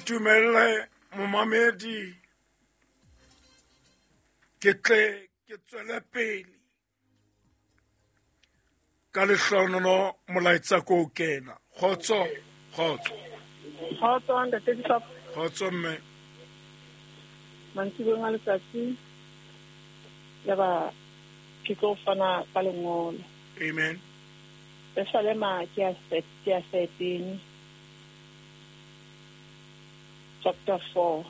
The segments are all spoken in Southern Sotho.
Ntumelle momamedi ke tle ke tswele pele ka lehlohonolo molaetsa ko o kena. Kgotso, kgotso. Kgotso ntate Bishop. Kgotso mme. Mantsiboeng a letsatsi yaba ke tlo fana ka lengolo. Amen. Pesalema ke ya ke ya 13 chapter 4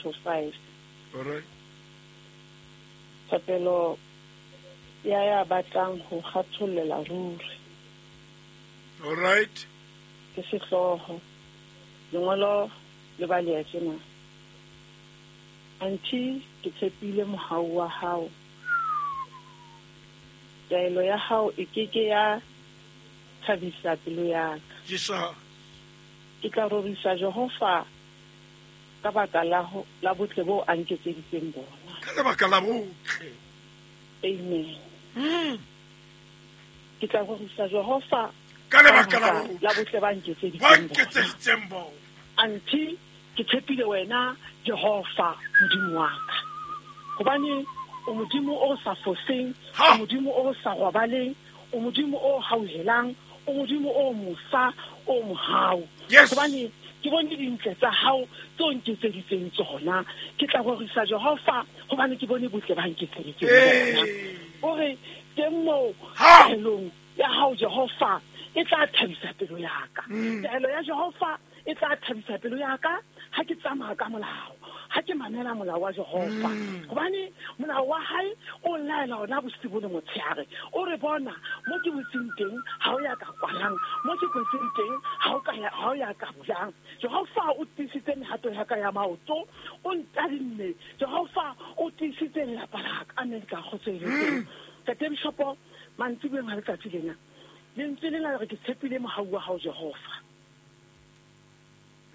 to 5. All right. Thapelo ya ya batlang ho kgathollela ruri. All right. Ke sehlooho. Lengolo le baleha tjena. Anthe ke tshepile mohau wa hao. Taelo ya hao e ke ke ya thabisa pelo ya ka. Jesus. Ke tla rorisa Jehova ka baka la, ho, la botle boo a nketseditseng bona. Ka lebaka la botle. Amen. Ke tla rorisa Jehova Ka lebaka la la botle. botle ba Ba nketseditseng bona. nketseditseng bona. Anthe ke tshepile wena Jehova Modimo wa ka. Hobane o Modimo o sa foseng, Ha. o Modimo o sa robaleng, o Modimo o hauhelang, o Modimo o mosa, o mohau. Yes. Hobane ke bone dintle tsa hao tse o nketseditseng tsona. Ke tla rorisa Jehova hobane ke bone botle ba nketseditseng bona. Ee. O re teng moo Ha. taelong ya hao Jehova e tla thabisa pelo ya ka. Taelo ya Jehova e tla thabisa pelo ya ka ha ke tsamaya ka molao, ha ke mamela molao wa Jehova. Hobane molao wa hae o laela hona bosibu le motshehare. O re bona mo ke butseng teng ha o ya ka kwalang, mo ke kwetseng teng ha o ka ya, ha o ya ka bulang. Jehova o tiisitse mehato ya ka ya maoto, o ntadimme. Jehova o tiisitse lelapa la ka. Amen ka kgotso e le teng. Ntate Bishopo, mantsiboeng a letsatsi lena, lentswe lena le re ke tshepile mohau wa hao Jehova.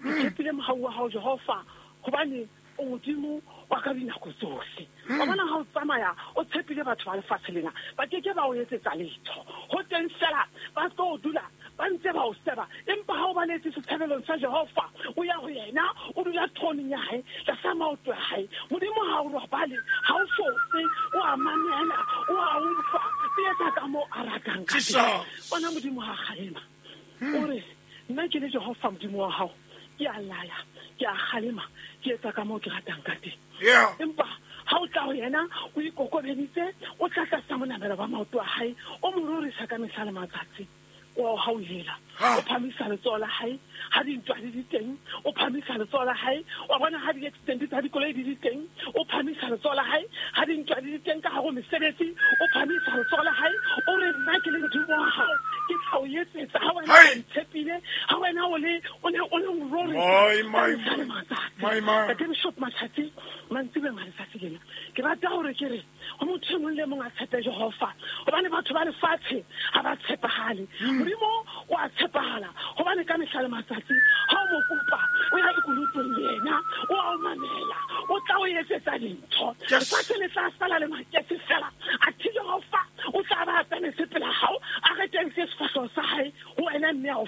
Ke tshepile mohau wa hao Jehova hobane o Modimo wa ka dinako tsohle. Wa bona ha o tsamaya o tshepile batho ba lefatshe lena, ba ke ke ba o etsetsa letho. Ho teng fela ba tlo dula ba ntse ba o seba, empa ha o baletse setshabelong sa Jehova, o ya ho yena, o dula throneng ya hae, tlasa maoto a hae. Modimo ha o robale, ha o fose, o a mamela, o a utlwa, o etsa ka moo a ratang ka teng. Jesus. Bona Modimo ha kgalema. O re, nna ke le Jehova Modimo wa hao, ke a laya, ke a kgalema, ke etsa ka moo ke ratang ka teng. Yeah. Empa ha o tla ho yena, o ikokobeditse, o tla tlasa monamelo wa maoto a hae, o mo rorisa ka mehla le matsatsi. O a o hauhela, Ha. o phamisa letsoho la hae ha dintwa di le teng, o phamisa letsoho la hae, wa bona ha di-accident tsa dikoloi di le teng, o phamisa letsoho la hae ha dintwa di le teng ka hare ho mesebetsi, o phamisa letsoho la hae, o re nna ke le Modimo wa hao, ke tla o etsetsa ha wena Hai. o ntshepile, ha wena o le, o ne o le o rorisa My, ka my, mehla le my. matsatsi. My, my. Ntate Bishop Matsatsi, mantsiboeng a letsatsi lena, ke rata hore ke re ho motho e mong le mong a tshepe Jehova, hobane batho ba lefatshe ha ba tshepahale. Modimo o a tshepahala, hobane ka mehla le matsatsi ha o mo kopa, o ya lekunutong le yena, o a o mamela, o tla o etsetsa dintho. Yes. Lefatshe le tla sala le maketse fela, athe Jehova o tla ba a tsamaise pela hao, a retetse sefahleho sa hae ho wena mme a o